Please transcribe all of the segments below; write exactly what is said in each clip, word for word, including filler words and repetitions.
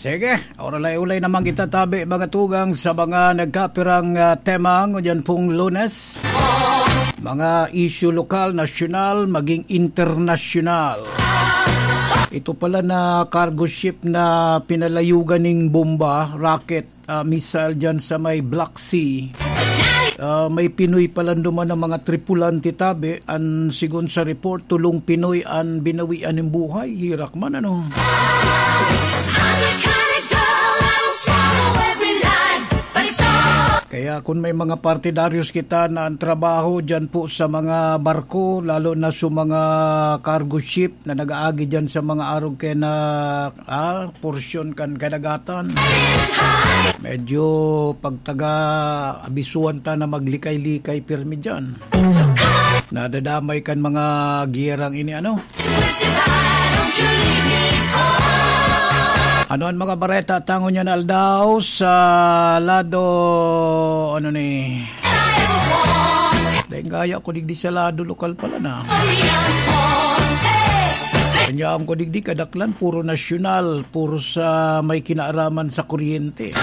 Sige, oralay-ulay naman kita tabi, mga tugang, sa mga nagkapirang, ah, tema ngunyan pong Lunes. Mga issue lokal, nasyonal, maging internasyonal. Ito pala na cargo ship na pinalayugan ning bomba, rocket, ah, missile dyan sa may Black Sea. Ah, may Pinoy pala duman ng mga tripulante tabi. An sigon sa report, tolong Pinoy an binawian nin buhay. Hirak man, ano? Kaya kung may mga partidaryos kita na ang trabaho dyan po sa mga barko, lalo na sa mga cargo ship na nag-aagi dyan sa mga arog kaya na, ah, porsyon kan kadagatan. Medyo pagtaga abisuan ta na maglikay-likay pirmi dyan. Nadadamay kan mga giyerang ini, ano? Ano ang mga bareta tangon niya na aldaw sa lado, ano ni? Dahil gaya ko digdi sa lado lokal pala na. Kanya ko digdi kadaklan, puro nasyonal, puro sa may kinaaraman sa kuryente.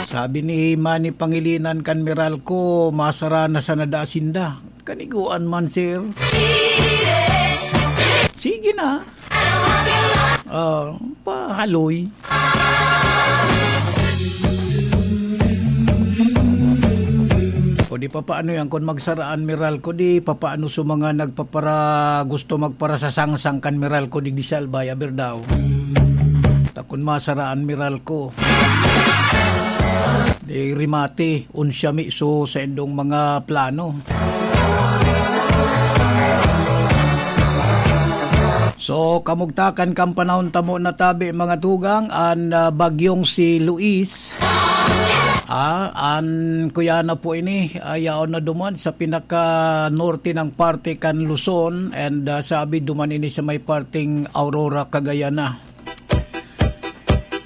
Sabi ni Manny Pangilinan kan Meralco, masara na sana da sinda. Kaniguan man, sir. Sige na. Ah, pahaloy. O di papaano yan, kung magsaraan Meralco, di papaano sa mga nagpapara-, gusto magparasasangsang kan Meralco, digdi sa Albay, aber daw. Ta kun masaraan Meralco. Di rimate, unsya mi so sa indong mga plano. So, kamugtakan kan panahon tamo na tabi, mga tugang, an, ah, bagyong si Luis. Ah, an kuya na po ini, ah, yaon na duman sa pinaka-norte ng parte kan Luzon, and, ah, sabi duman ini sa may parteng Aurora, Cagayan na.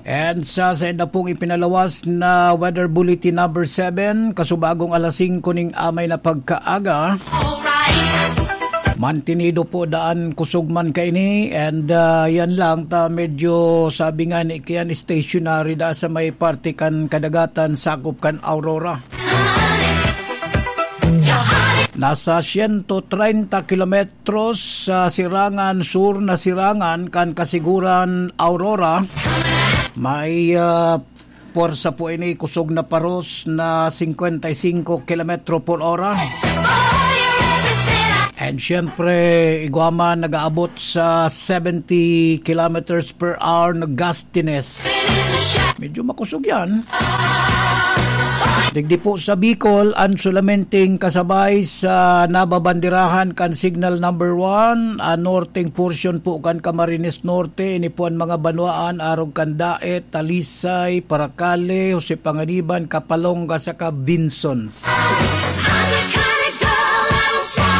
And sa sainda pong ipinalawas na Weather Bulletin number seven, kasubagong alas singko ning amay na pagkaaga, mantinido po daan kusog man kaini, and, ah, yan lang ta medyo sabi nga ni kiyan stationary da sa may parte kan kadagatan sakop kan Aurora. Nasa siyento treinta kilometros sa sirangan, sur na sirangan kan Kasiguran, Aurora. May, ah, pwersa po ini, kusog na paros na cincuenta y cinco kilometro por hora. And syempre, igwa man nag-aabot sa seventy kilometers per hour na gustiness. Medyo makusog yan. Digdi po sa Bicol, an sulamenteng kasabay sa nababandirahan kan signal number one, an norteng portion po kan Camarines Norte, ini po an mga banwaan, arog kan Daet, Talisay, Paracale, Jose Panganiban, Capalonga, saka Binsons.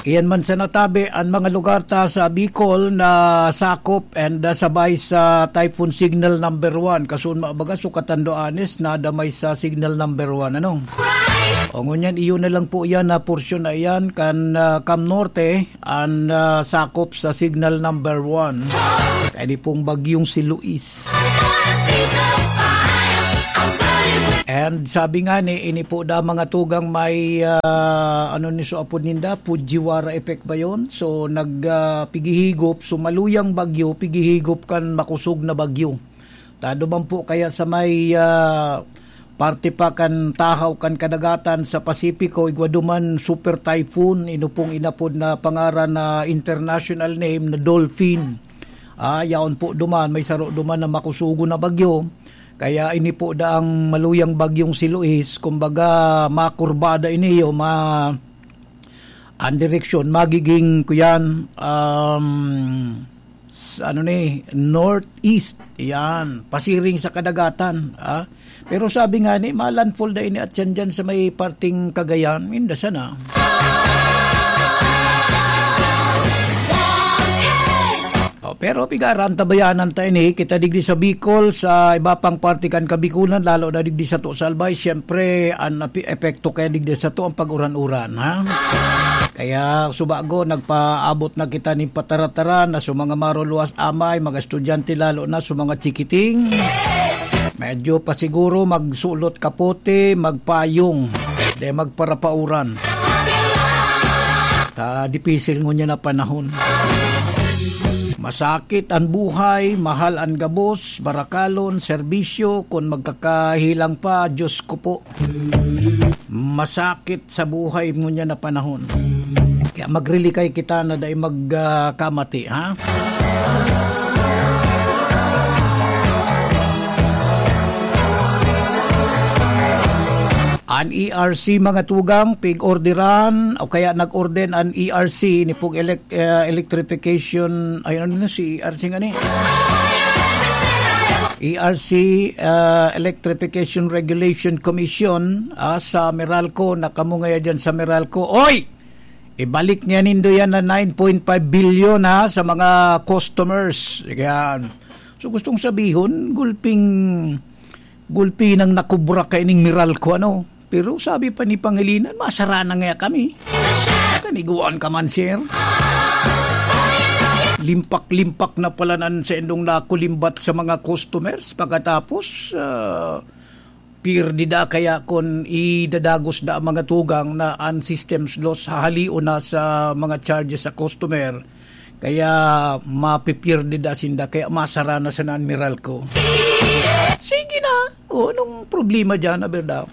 Iyan man sa natabi, an mga lugar ta sa Bicol na sakop and, ah, sabay sa Typhoon Signal number one. Kasunma baga, so katandoanes, nadamay sa Signal number one, ano? O ngunyan, iyon na lang po yan na porsyon na iyan kan, ah, Cam Norte, an, ah, sakop sa Signal number one. Kaya di pong bagyong si Luis. And sabi nga ni, ini po da mga tugang may, ah, ano ni so apod ninda, Fujiwara effect ba yun? So, nag, ah, pigihigop, so maluyang bagyo, pigihigop kan makusog na bagyo. Tado man po kaya sa may, ah, parte pa kan tahaw kan kadagatan sa Pasipiko, igwa duman super typhoon, ino pong inapod na pangaran na international name na Dolphin. Ah, yaon po duman, may saro duman na makusugo na bagyo. Kaya ini po daang maluyang bagyong si Luis, kumbaga, makurbada ini o ma-, ang direksyon, magiging, kuyan, um, s-, ano ni, northeast. Yan, pasiring sa kadagatan, ah. Pero sabi nga ni, malandfall da ini at yan dyan sa may parting Cagayan, inda sana. O, Pero pigaran, tabayanan ta ini, kita digdi sa Bicol, sa iba pang parte kan Kabikulan, lalo na digdi sato sa Albay, siyempre, an api-, epekto kaya digdi sato ang pag-uran-uran, ha? Kaya, subago, nagpaabot na kita nin pataratara na sa mga maruluwas amay, mga estudyante, lalo na sa mga chikiting. Medyo pa siguro magsulot kapote, magpayong, de magparapauran. Ta dipisil ngunyan na panahon. Masakit an buhay, mahal an gabos, barakalon, serbisyo, kun magkakahilang pa, Diyos ko po. Masakit sa buhay ngunyan na panahon. Kaya magrilikay kita na dai mag, ah, kamati, ha? An E R C, mga tugang, pig-orderan o kaya nag-order an E R C ni pong elec-, eh, electrification, ay, ano na si E R C nga ni? E R C, ah, Electrification Regulation Commission, ah, sa Meralco, na kamo ngaya dyan sa Meralco. Oy! Ibalik niya nindo yan na nine point five billion, ha, sa mga customers. Yan. So, gustong sabihon, gulping, gulpi nang nakubra kaining Meralco, ano? Pero sabi pa ni Pangilinan, "Masara na nga kami." Kaniguan ka man, sir. Limpak-limpak na pala nan sa indong nakulimbat sa mga customers. Pagkatapos, ah, pirdi da kaya kun idadagos da ang mga tugang na an systems loss hahalion na sa mga charges sa customer. Kaya mapipirdi da sinda, kaya masara na sana an Meralco. Sige na. O, anong problema dyan, aber daw?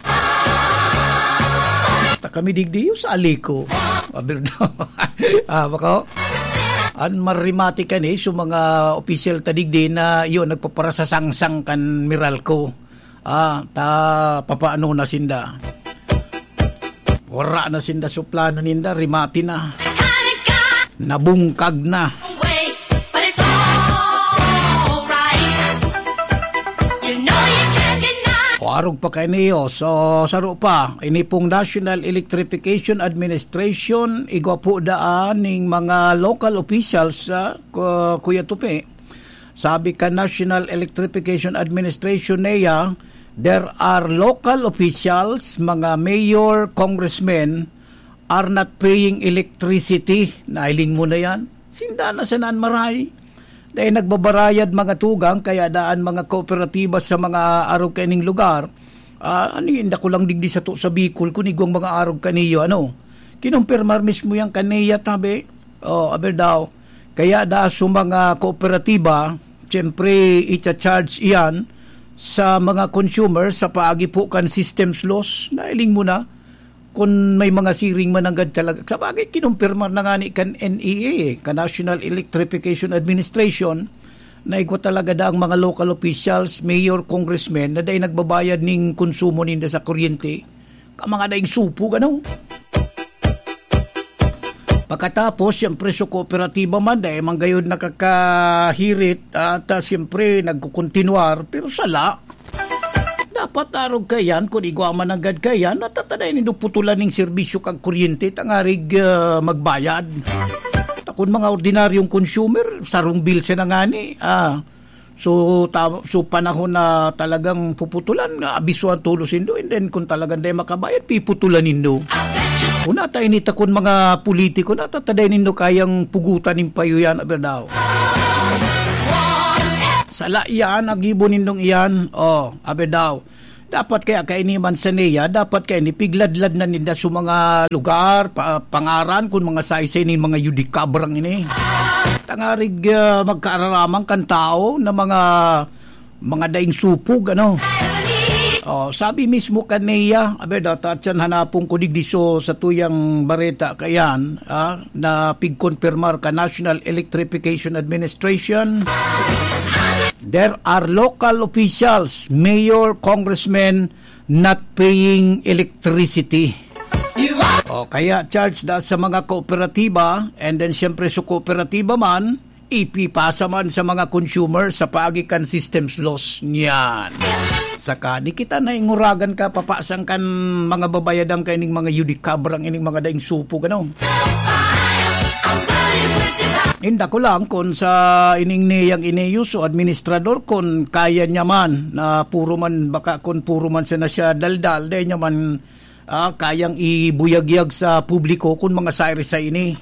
Ta kami digdi, yung sa Alico. Aber daw. Ah, bako? An marimati kani, so mga opisyal ta digdi na, yun, nagpaparasasangsang kan Meralco. Ah, ta papaano na sinda? Wara na sinda suplano ninda, rimati na. Nabungkag na. O, arog pa kaini, oh. So, saro pa, ini pong National Electrification Administration, igwa po daan ning mga local officials sa Ku-, Kuya Tupi. Sabi kan National Electrification Administration, NEA, there are local officials, mga mayor, congressmen, are not paying electricity. Nailing mo na yan. Sinda na sana an maray. Dahil nagbabarayad mga tugang, kaya daan mga kooperatiba sa mga arog kaining lugar. Ah, ano yun, dako lang digdi sato sa Bicol, kun igwang mga arog kaniyo, ano? Kinumpirmar mismo yan kan NEA, tabi. Oh, aber daw. Kaya da sa mga kooperatiba, siyempre, icha-charge iyan sa mga consumer sa paagi po kan systems loss. Nailing mo na, kun may mga siring man nanggad talaga. Sa bagay, kinumpirma na nga ni kan NEA, eh, kan National Electrification Administration, na igwa talaga da ang mga local officials, mayor, congressmen, na dai nagbabayad ning konsumo ninda sa kuryente. Ka mga daing supog, ano? Pagkatapos, siyempre, sa kooperatiba man, dai man gayod nakakahirit, at, ah, siyempre, nagkukontinuar, pero sala. Dapat arog kaiyan, kun igwa man nanggad kaiyan, natatadayan nindo putulan ning serbisyo kan kuryente, tangarig, ah, magbayad. Ta kun mga ordinaryong consumer, sarong bill siya na ngani, ah, so, ta-, so, panahon na talagang puputulan, nga abisuhan tolos nindo, and then kung talagang dai makabayad, piputulan nindo. Kung nata ini ta kun mga politiko, natatadayan nindo kayang pugutan nin payo yan, aber daw. Sala iyan, ang gibo nindong iyan. Oh, aber daw. Dapat kaya kaini man sa NEA, dapat kaini pigladlad na ninda sa mga lugar, pa-, pangaran, kung mga saysay nin mga yudikabrang ini. Tangarig, ah, magkaararamang kan tao na mga, mga daing supog, ano? Oh, sabi mismo kan NEA, abe, daw, ta siyan hanapon ko digdi so sa tuyang bareta kayan, ah, na pigkonpirmar ka National Electrification Administration. There are local officials, mayor, congressmen, not paying electricity. O kaya charge da sa mga kooperatiba, and then siyempre sa kooperatiba man, ipipasa man sa mga consumer sa paagi kan systems loss niyan. Saka di kita nainguragan ka, papasang kan mga babayadan kaining mga yudikabrang ining mga daing supog, ano? Inda ko lang kun sa ining niyang iniyo so administrador, kun kaya niya man na puro man, baka kun puro man sana siya daldal, dai niya man, ah, kayang ibuyagyag sa publiko kun mga sairi sa ini.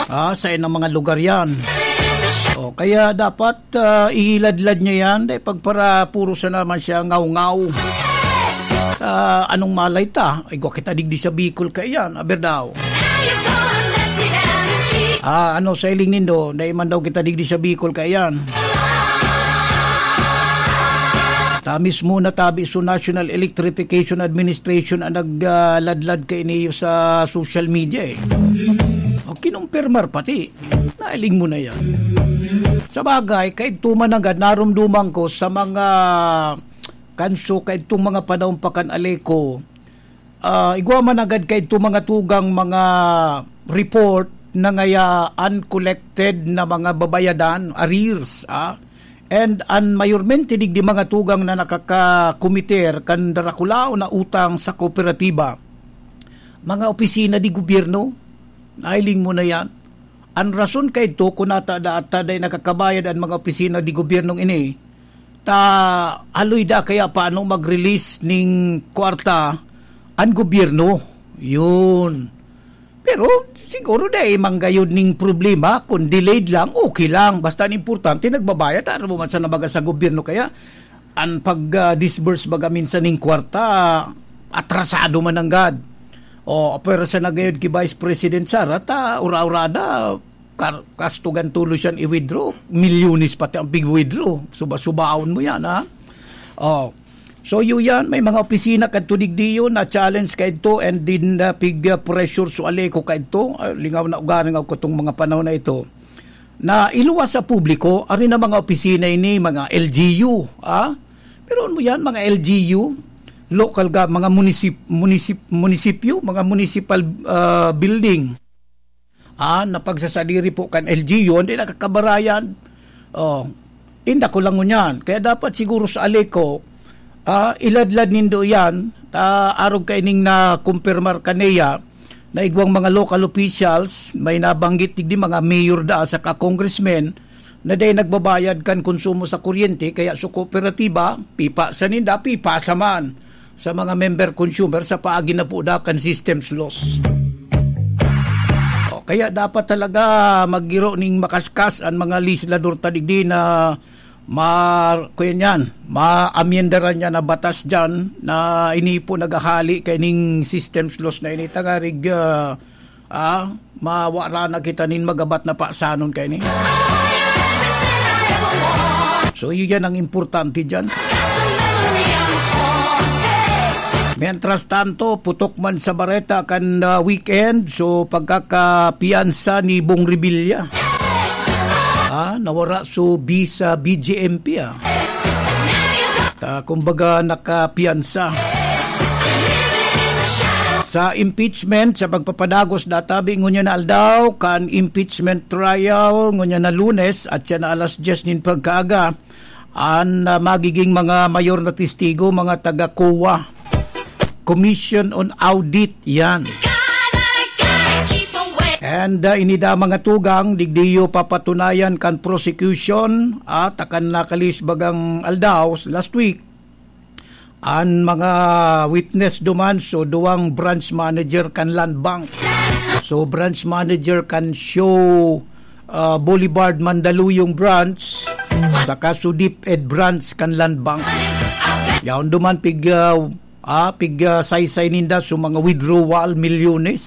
Ah, sa inang mga lugar yan. O, kaya dapat, ah, ihiladlad niya yan, dai pagpara puro sana man siya ngaw-ngaw. Ah, anong malay ta? Igwa kita digdi sa Bicol kaya yan, aber daw. Ah, ano sa iling nindo? Dai man daw kita digdi sa Bicol kaya yan. Ta mismo na tabi so National Electrification Administration ang nagladlad kaini sa social media eh. O, kinumpirmar pati. Nailing mo na yan. Sa bagay, kaidto man nanggad, narumduman ko sa mga kanso, kaidtong mga panahon pa kan Aleco, ah, igwa man agad kaidto mga tugang, mga report na ngaya uncollected na mga babayadan, arrears, ah. And an mayormente digdi mga tugang na nakakakomiter kan darakulaon na utang sa kooperatiba, mga opisina di gobyerno, nailing mo na yan. An rason kaidto kun ata da, ata dai nakakabayad an mga opisina di gobyernong ini, ta haloy da kaya paano mag-release ning kwarta an gobyerno. Yun. Pero siguro dai manggayod ning problema, kung delayed lang, okay lang. Basta an importante, nagbabayad, ano mo man sa nabaga sa gobyerno. Kaya, an pag, ah, disburse baga minsan ning kwarta, atrasado man nanggad. O, pero sa nagayod ki Vice President Sara, ta ura-urada, kar-, kastugan tulo siyan i-withdraw. Milyones pati ang pig-withdraw. Suba-subaon mo yan, ha? O. So, yun yan. May mga opisina kadto digdiyo na challenge kaidto and din, ah, pig, ah, pressure so Aleco kaidto. Ah, lingaw na ugaring ako katong mga panahon na ito. Na iluwas sa publiko, ari na mga opisina ini, mga L G U, ah? Pero ano yan, mga L G U, local ga-, mga munisip-, munisip-, munisipyo, mga municipal, ah, building. Ah, na pagsasadiri po kan L G U, hindi nakakabarayan. Oh, inda ko lang ngunyan. Kaya dapat siguro sa Aleco, ah, iladlad nindo yan, ta arog kaining na kumpirmar kaniya, na igwang mga local officials, may nabanggit digdi mga mayor da saka congressmen, na dai nagbabayad kan konsumo sa kuryente, kaya sa kooperatiba, pipa sa ninda, pipa sa man sa mga member consumer sa paagi na po da kan systems loss. O, kaya dapat talaga maggiro ning makaskas ang mga legislador ta digdi na mar-, kuyan yan, maamyendaran niya na batas dyan na ini po naghahali kaining systems loss na ini. Tangarig, ah, ah, mawara na kita nin magabat na pasanon kaini. So, yun yan ang importante dyan. Mientras tanto, putok man sa bareta kan, ah, weekend, so pagkakapiyansa ni Bong Revilla. Ah, nawara so bisa B J M P, ah. Ta, kumbaga, nakapiyansa. Sa impeachment, sa pagpapadagos, databi ngunyan na aldaw, kan impeachment trial, ngunyan na Lunes, at siya na alas dyes nin pagkaaga, an, ah, magiging mga mayor na testigo, mga taga COA, Commission on Audit, yan. And, ah, inida mga tugang, digdiyo papatunayan kan prosecution, at akan nakalis bagang aldaw, last week, an mga witness duman, so duwang branch manager kan Land Bank. So branch manager kan Show, ah, Boulevard Mandaluyong branch, saka so DepEd branch kan Land Bank. Yaon duman pig, ah, ah, pig, ah, saysay ninda so mga withdrawal, milyones.